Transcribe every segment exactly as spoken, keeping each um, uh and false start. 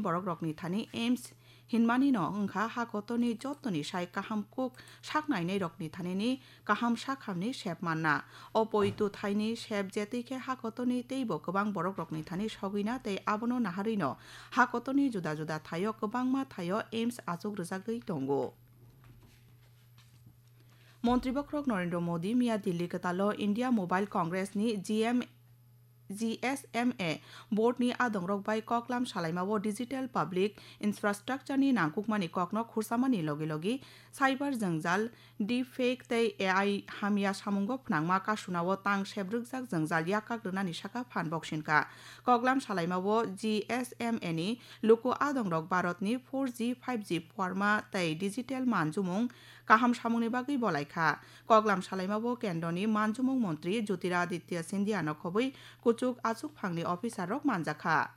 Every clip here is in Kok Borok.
borok rokni thani aims hinmani no wngkha ha kotorni jotoni sai kaham kuk sak nainai rokni thani ni kaham sakhamni sep manna. O poitu thaini sep jetwi khe ha kotorni teibo kwbang borok rokni thani sogwina tei abono naharwi no ha kotorni juda juda thaio kwbangma thaio aims achuk rwjagwi tongo. Montri bokhorok Narendra Modi miya Delhi kwtalo India Mobile Congress ni G M, G S M A board ni adongrok bai koklam salaimao digital public infrastructure ni nangkukmani kokno khursamani logi logi cyber jwngjal, deepfake tei A I hamya samungo phnangma kasunao tang sebrwkjak jwngjal yakak rwnani saka phan boksinka. Koklam salaimao G S M A ni luku adongrok Bharat ni four G, five G phuarma tei digital manjumung kaham samungni bagwi bolaikha. Koklam salaimao kendroni manjumung montri Jyotiraditya Scindia no khobwi kuchuk achukphangni officer rok manjakha.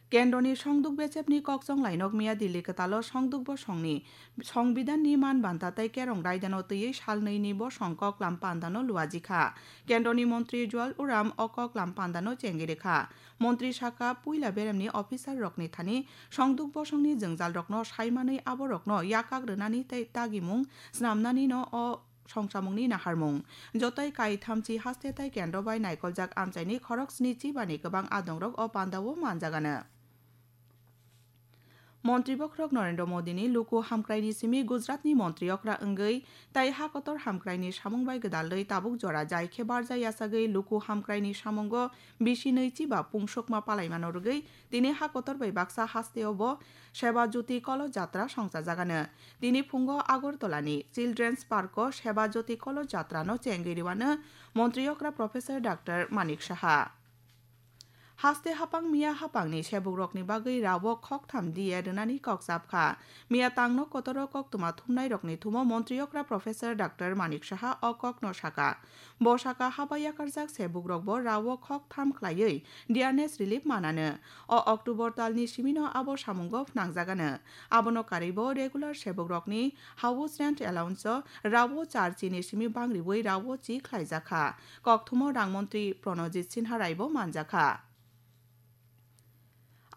Kendroni songduk bechepni kokchong lainok miya Delhi kwtalo songduk bosongni songbidanni man banta tei kerong raidano twiwi salnwini bosong koklam pandano luajikha. Kendroni montri Jual Oram o koklam pandano chengirikha. Montri saka puila beremni officer rokni thani songduk bosongni jwngjalrokno saimanwi aborokno yakak rwnani tei dagimung snamnanino o songchamungni naharmung. Jotoi kaithamchi haste tei kendro bai naikoljak amchaini khorok sni chibani kwbang adongrok o pandao manjagano. Montri bokhorok Narendra Modini luku hamkraini simi Gujaratni montri okra wngwi tei ha kotor hamkraini samung bai gwdalwi tabuk jora jai khe barja yachagwi luku hamkraini samungo bisi nwi chiba pungsukma palaimano rwgwi tini ha kotor bai baksa hasteo bo Seba Jyoti Kolo Jatra songchajagano. Tini phungo Agartala ni Children's Park o Seba Jyoti Kolo Jatra no chengwi rwano montri okra Professor Doctor Manik Saha. Haste hapang miya hapangni sebukrokni bagwi rao khoktham D A rwnani kok chapkha. Miya tangno kotoro koktwma thumnairokni thumo montri okra Professor Doctor Manik Saha o kokno saka. Bo saka haba yakarjak sebukrokbo rao khoktham khlaiwi dearness relief manano. O October talni simino abo samungo phnangjagano. Abono karwibo regular sebukrokni house rent allowance o rao char chini simi bangriwi rao chi khlaijakha. Kokthumo rang montri Pranojit Sinha Raibo manjakha.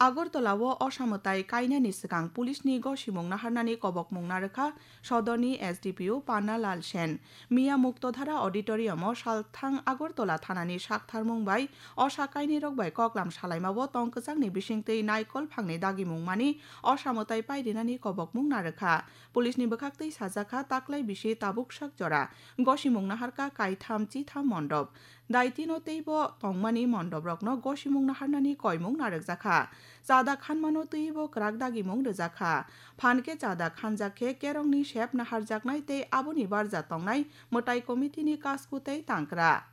Agartala o osamwtai kainani swkang police ni gosimung naharnani kobokmung narwkha sodorni S D P O Panna Lal Sen. Miya Muktodhara Auditorium o salthang Agartala thanani saktharmung bai osa kainwi rok bai koklam salaimao tongkwchangni bisingtwi naikol phangni dagimung mani osamwtai pairinani kobokmung narwkha. Police ni bwkhaktwi sajakha taklai bisi tabuk sak jora gosimung naharkha kaitham chitham mondop. Daitino teibo tongmani mondoprokno gosimung naharnani koimung narwkjakha. Chada khanmano twibo kwrak dagimung rwjakha. Phan khe chada khanjak khe kerongni sep naharjaknai tei aboni barja tongnai mwtai committee ni kasku tei tangkra.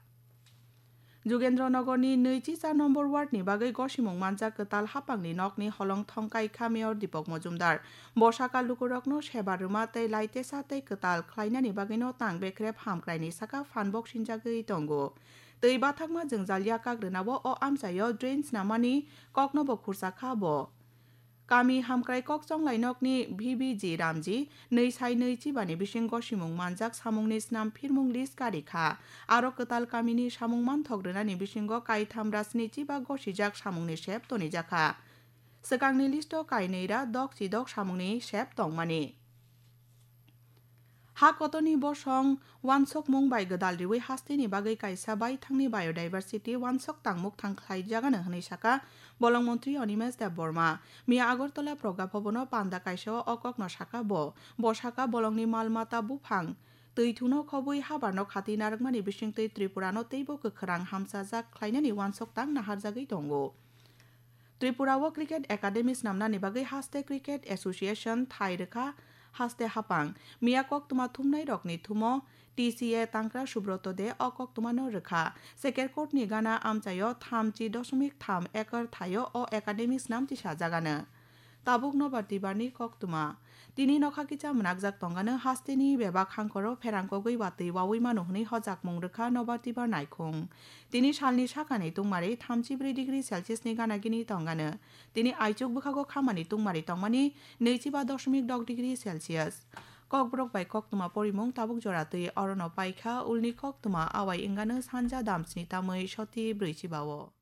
Jugendra Nogor ni nwichi char number ward ni bagwi gosimung manjak kwtal hapangni nokni holong thongkai kha Mayor Deepak Majumdar. Bo saka lukurokno seba rwma tei laitesa tei kwtal khlainani bagwino tang bekrep hamkraini saka phan boksinjagwi tongo. Twi bathakma jwngjal yakak rwnao o amchaio drain snamani koknobo khursa kha bo. Kami hamkrai kokchong lainokni V B G Ramji nwi sai nwi chibani bisingo simung manjak samungni snam phirmung list kari kha. Aro kwtal kamini samung manthok rwnani bisingo kaitham ra sni chiba gosijak samungni sep tonijakha. Swkangni listo kainwi ra dok chi dok samungni sep tongmani. Ha kotorni bosong wansokmung bai gwdal riwi hasteni bagwi kaisa baithangni biodiversity wansok tangmuk thang khlaijagano hwnwi saka bolong montri Animesh Debbarma. Miya Agartala Pragya Bhavan o panda kaisa o kokno saka bo. Bo saka bolongni mal mata buphang twi thuno khobwi habarno khati narwkmani bisingtwi Tripura no teibo kwkhwrang hamchajak khlainani wansok tang naharjagwi tongo. Tripura o Cricket Academy snamnani bagwi haste Cricket Association thai rwkha haste hapang. Miya koktwma thumnai rokni thumo T C A tangkra Subroto De o koktwma no rwkha. Sekerkot ni gana amchaio thamchi dosomik tham ekar thaio o academy snam tisajagano. Tabuk nobar tibar ni koktwma. Tini nokha kicha mwnakjak tongano hasteni bebak hangkoro pherang kogwi watwi wawi mano hwnwi hojakmung rwkha nobar tibar naikhung. Tini salni sakani tungmari thamchi brwi degree Celsius ni gana gini tongano. Tini aichuk bwkhago khamani tungmari tongmani nwichiba dosomik dok degree Celsius. Kokborok bai koktwma porimung tabuk jora twi orono paikha ulni koktwma awai wngano sanja damsni tamwi soti brwichiba o.